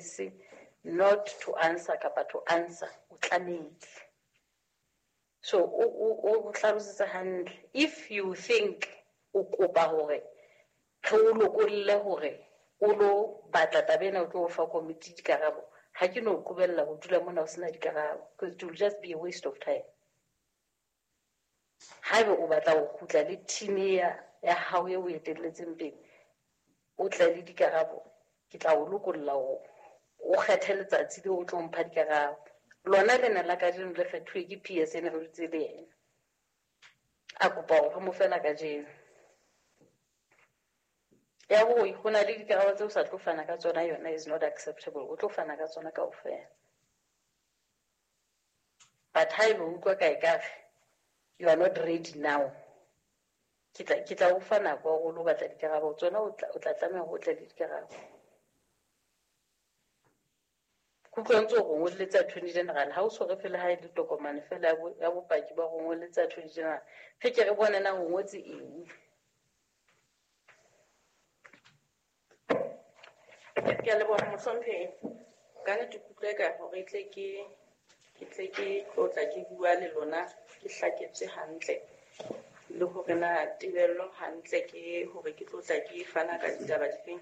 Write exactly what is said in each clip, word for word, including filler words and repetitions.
choice not to answer kapa to answer, o tlamehile. So o o o hlalosetsa hantle. If you think o kopa hore re o lokolle hore o lo batla taba ena o tlo fa committee dikarabo, ha ke no qobella ho dula mona o sena dikarabo, because it will just be a waste of time. Haeba o batla ho kgutla le team ya ya hao e o etelletseng pele, o tle le dikarabo, ke tla o lokolla hore o kgethe letsatsi leo o tlo mpha dikarabo. Lona lena la kajeno le kgethuwe ke P S N re dutse le yena. A kopa hore re mo fe la kajeno. Ya hore ho na le dikarabo tseo o sa tlo fana ka tsona, yona is not acceptable. O tlo fana ka tsona kaofela. But haeba o utlwa ka ekare you are not ready now, ke tla, ke tla o fa nako ya hore o lo batla dikarabo tsona, o tla, o tla tlameha hore o tle le dikarabo. Ke utlwa ntse o re ngolletse Attorney General, ha o so re fele ha e le tokomane fela ya bo-, ya bopaki ba ho ngolletse Attorney General, re ke re bone na o ngotse eng. Ke a leboha mohlomphehi. Ka nnete ke utlwa eka hore e tle ke, ke tle ke tlotla ke bua le lona, ke hlaketswe hantle le hore na tebello hantle ke hore ke tlotla ke fana ka ditaba difeng.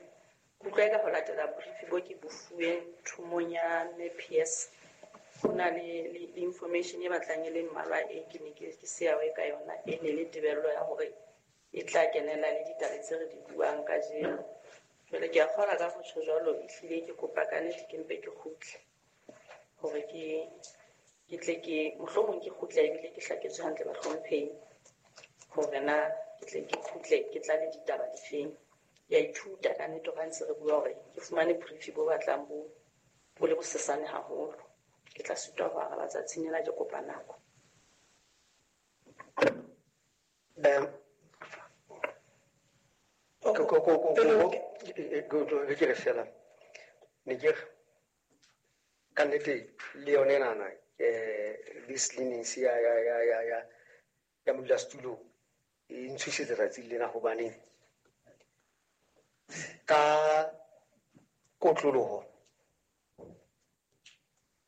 Ke utlwa eka ho latela brief bo ke bo fuweng thomong ya M P S, ho na le, le, le information e batlang e le mmalwa e ke ne ke, ke se awe ka yona, e ne le tebello ya hore e tla kenela le ditaba tse re di buang kajeno. Jwale ke a kgolwa ka ho tjho jwalo, ehlile ke kopa ka nnete ke mpe ke kgutle hore ke, ke tle ke, mohlomong ke kgutle ebile ke hlaketswe hantle bahlomphehi hore na ke tle ke kgutle ke tla le ditaba difeng. Ke a ithuta ka nnete hore ha ntse re bua hore ke fumane brief bo batlang bo, bo le bosesane haholo. Ke tla sitwa ho araba tsatsing lena, ke kopa nako. Um, ko, ko, ko, ko, ko, ko, ko, ke re fela. Ne ke re, ka nnete le yone enana, eh, this leniency ya, ya, ya, ya, ya, ya modulasetulo e ntshosetsa tsatsi lena hobane ka kotloloho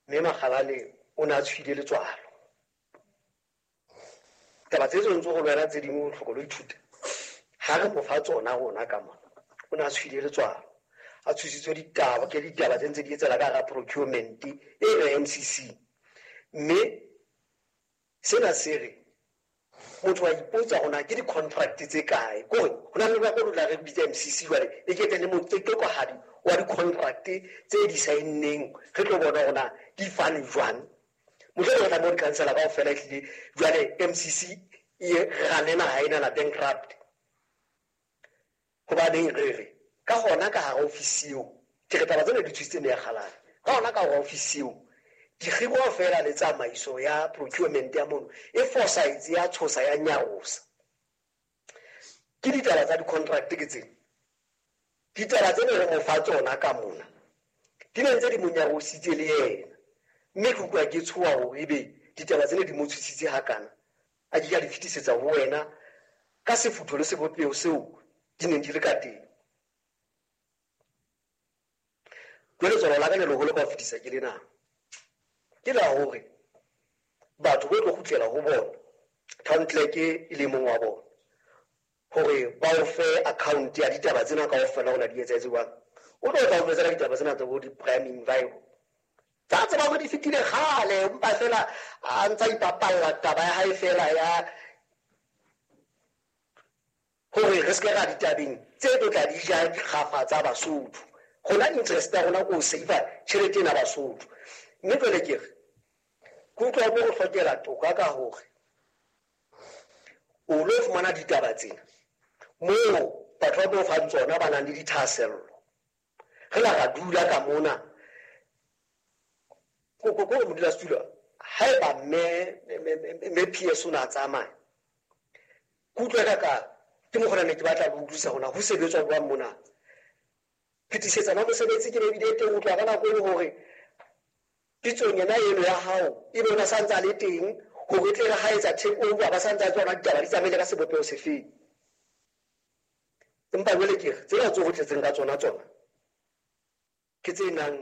mme Makgalane o ne a tshwile letswalo. Taba tse tse ntse go lwela tse dingwe o tlhoka lo ithuta. Ha re mo fa tsona rona ka mona, o ne a tshwile letswalo. A tshositswe ditaba, ke ditaba tse ntse di etsela ka hara procurement e re M C C. Mme sena se re motho wa ipotsa hore na ke di-contract tse kae. Ke hore ho na le nako e tla re bitsa M C C jwale, e ke tle le motsekekohadi wa di-contract tse di saenneng, re tlo bona hore na di fane jwang. Mohlomong re tla mo di-councillor kaofela ehlile jwale M C C e rane naha ena na bankrupt. Hobaneng re re ka hona ka hara ofisi eo, ke re taba tsena di thusitse meya kgalane. Ka hona ka hara ofisi eo, dikgibo feela le tsamaiso ya procurement ya mono e fosahetse, ya tshosa, ya nyarosa. Ke ditaba tsa di-contract ke tsena. Ditaba tsena re mo fa tsona ka mona, di ne ntse di mo nyarositse le yena. Mme ke utlwa ke tshoha hore ebe ditaba tsena di mo tshositse hakana, a ke ka di fetisetsa ho wena ka sefutho le sebopeho seo di neng di le ka teng. Jwale letswalo la ka le leholo ka ho fetisa ke lena. Ke la hore batho bo tlo kgutlela ho bona, town clerk e le mong wa bona, hore ba o fe account ya ditaba tsena kaofela hore di etsahetse jwang. O tlo tla o jwetsa ka ditaba tsena tsa bo di-prime enviro. Tsa tseba hore di fetile kgale, empa fela a ntsa ipapalla taba ya hae fela ya hore re se ke ra ditabeng tse tlo tla di ja dikgafa tsa Basotho. Rona interest ya rona ke ho save-a tjhelete ena Basotho. Mme jwale ke re, ke utlwa bo go hlokela toka ka hore o lo fumana ditaba tsena moo batho ba bo fang tsona ba nang le dithahasello. Re la ra dula ka mona. Ko, ko, ko modulasetulo, haeba mme, mme, mme, mme P S o ne a tsamaya, ke utlwa ka ka ke mokgwa ne ke batla ho utlwisisa hore na ho sebetswa jwang mona. Phetisetsano ya mosebetsi ke ne ebile teng ho tloha ka nako e le hore pitsong yena eno ya hao ebe o ne a sa ntse a le teng hore e tle re ha etsa take over ba sa ntse a tswa ditaba di tsamaile ka sebopeho sefeng. Empa jwale ke re tsena tse ho tletseng ka tsona tsona ke tse nang